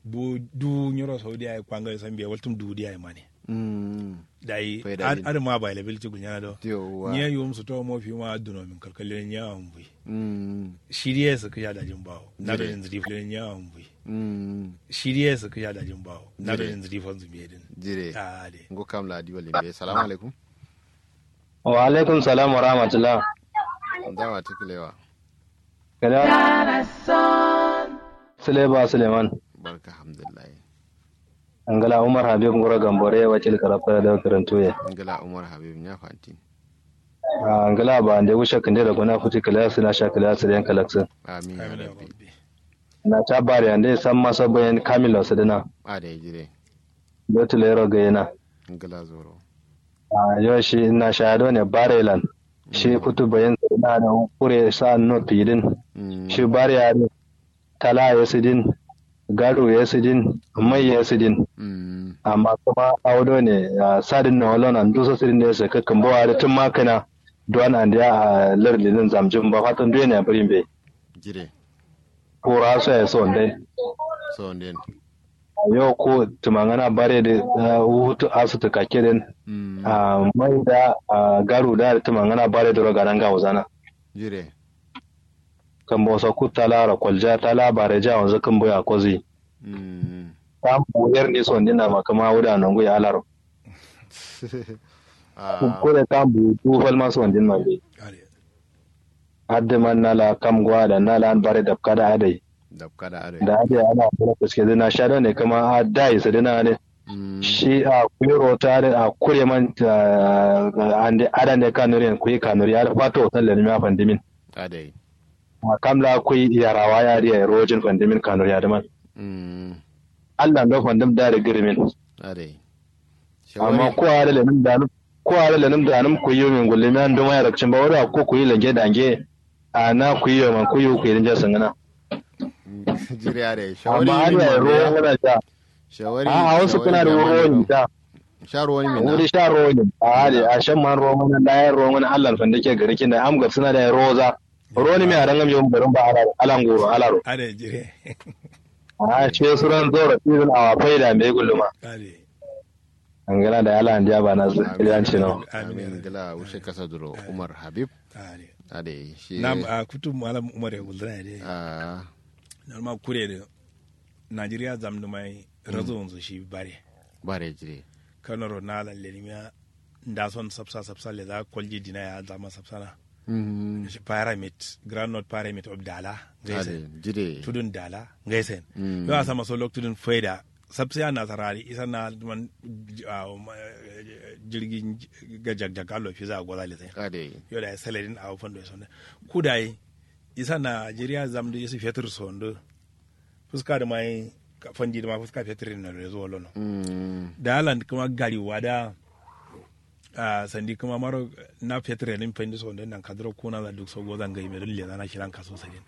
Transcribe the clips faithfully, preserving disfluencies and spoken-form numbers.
Duwu nyiro saudiya ye kwangare sambiya waltum duwu diya ye mane. Dayi adǝ ma availability gulnyana do. Nyiye yuwum suto mo fiwuma duno min kalkalle nyiye awon buyi. Shiriye sǝ kǝsha dajin bawo nado nin zǝdi fo nyiye awon buyi. Shiriye sǝ kǝsha dajin bawo nado nin zǝdi fo zǝmbiye din. Jire. Ngo kam la diwa limbe. Salamu alaikum. Wa alaikum salam wa rahmatullah. Dawa tukulewa. Kada sule ba suleiman. Barka alhamdulillah. Ngla umar habib nguro gambore wakil karafta da karantuye. Ngla umar habib nya fantin. Ngla ba nde wushe kinde da guna futi kala suna sha kala su yan kalaksin. Amin ya rabbi. Na ta bari ande san masa bayan kamilo su dina. Ade jire. Betu lero ga yana. Ngla zoro. Yo shi na sha do ne barelan. Shi futu bayan na da kure sa no pidin. Shi bari ya tala ya sidin, garu ya sidin, mai ya sidin. Amma kuma audo ne sadin na walona nduso sidin ne sai kakkan bawa da tun makana duwan andiya a lardin zamjin ba fatan duwe ne a birin be. Jire. Kura so ya so ndai. So ndai. Yo ko tumangana bare da hutu asu tukakke din. Mai da garu da tumangana bare da roga nan ga wuzana. Jire. Kambo so kutta laro kolja tala bare ja wanzu kambo ya kozi. Kambo yer ni so ndina ma kama wuda nongu ya laro. Kure kambo du falma so ndin ma be. Adde man nala kam gwa da nala an bare dabka da adai. Dabka da adai. Da adai ana kula kuske dina shado ne kama adai su dina ne. Shi a kuyi rota da a kure man ande adan ne kanuri yan kuyi kanuri ya da fato hoton lalmi a fandimin. Adai. Kam la kui yarawa ya riya rojin fandimin kanuri ya da man. Allah ndo fandim da da girimin. Adai. Amma ko are le num danum ko are le num danum kuyi min gulle mi anduma ya rakcin ba wada ko kuyi lange dange. A na kuyi man kuyi kuyi din ja sangana. Jiri are shawari amma har ya ro wala ja. Shawari a hausa kuna da wuro ni da. Sha ruwa ni min wuri sha ruwa ni a hali a shan man ruwa mana da ya ruwa mana Allah fandake gari kin da am gab suna da roza. Roni mi arangam yom garin ba alaro alangoro alaro. Are jire. A she suran zoro tizin awa faida me gulluma. Are. Angala da ala andiya ba na zan cino. Amin gila wushe kasa duro umar habib. Are. Are shi nam a kutum malam umar ya gulluna de. Ah. Normal kure de. Najeriya zamdu mai razo wanzu shi bare. Bare jire. Kanoro na lalle ni miya. Nda son sapsa sapsa leza kolji dina ya zama sapsana. Shi pyramid, groundnut pyramid of dala ngaisen. Tudun dala ngaisen. Yo a sama so lok tudun faida sapsa ya nasara di isa na man. Jirgi ga jagjag allo fiza a goza leza. Yo da ya saladin a wufan do ya sonda. Kudayi isa najeriya zamdu isa fetur sondu. Fuska dǝ ma ye fandi dǝ ma fuska fetur yen nalo ye zuwa lono. Dalan kǝma gari wa da. Sandi kǝma maro na fetur yen fandi so ndo nan kaduro kuna za duk so goza ngai me dun leza na shiran kaso sadin.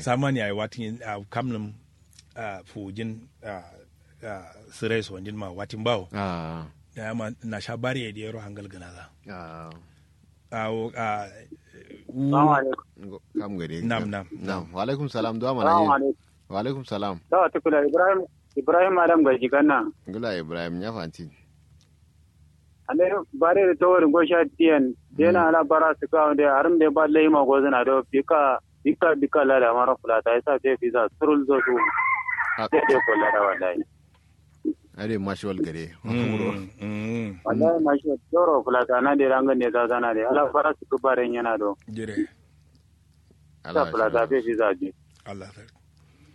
Samani ayi watin kam nǝm. Fujin sǝrai so ndin ma watin bawo. Dama na sha bari ye diyero hangal gǝna za. Awo a. Nam nam nam. Walaikum salam duwa mana yi. Walaikum salam. Dawa tukula ibrahim. Ibrahim adam gaji ganna. Ngula ibrahim ya fantin. Ande bare da tawari gosha tiyan. Dena ala bara su kawo da harim da ba lai ma gozuna do bika bika bika lada mara fulata yasa fe fisa surul zo su. Dai dai kolla da wallahi. Ade mashiwal gade. Wallahi mashiwal doro fulatana de rangan ne zazana de ala fara su kubaren yana do. Jire. Ala fulata fe fi zaji. Allah sarki.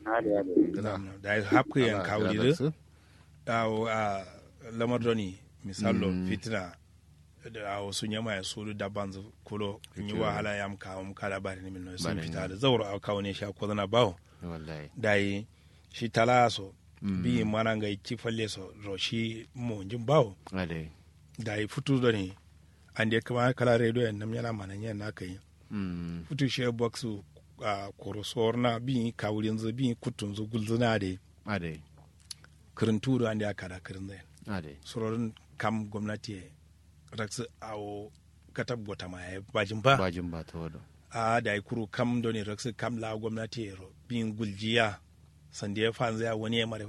Ade ade. Da hapku yan kawuri do. Awo a lamar doni misallo fitina. Awo su nyama ya sudu dabanzu kulo nyi wahala yam kawum kada bari ni min no sun fita da zauro a kawo ne sha ko zana bawo. Dayi shi tala so bi mana ngai ci falle so ro shi mo njin bawo. Dayi futu doni ande kama kala radio yan nam yana mana nyen na kai. Futu she box a koro sorna bi kawurinzu bi kutunzu gulzuna de. Kǝrǝntu do ande a kada kǝrǝnzai. Surodun kam gomnati ye raksǝ awo katab gotama yayi bajin ba. Bajin ba ta wado. A dayi kuru kam done raksǝ kam la gomnati ye ro bin guljiya. Sande fanzǝ ya wani ye mare.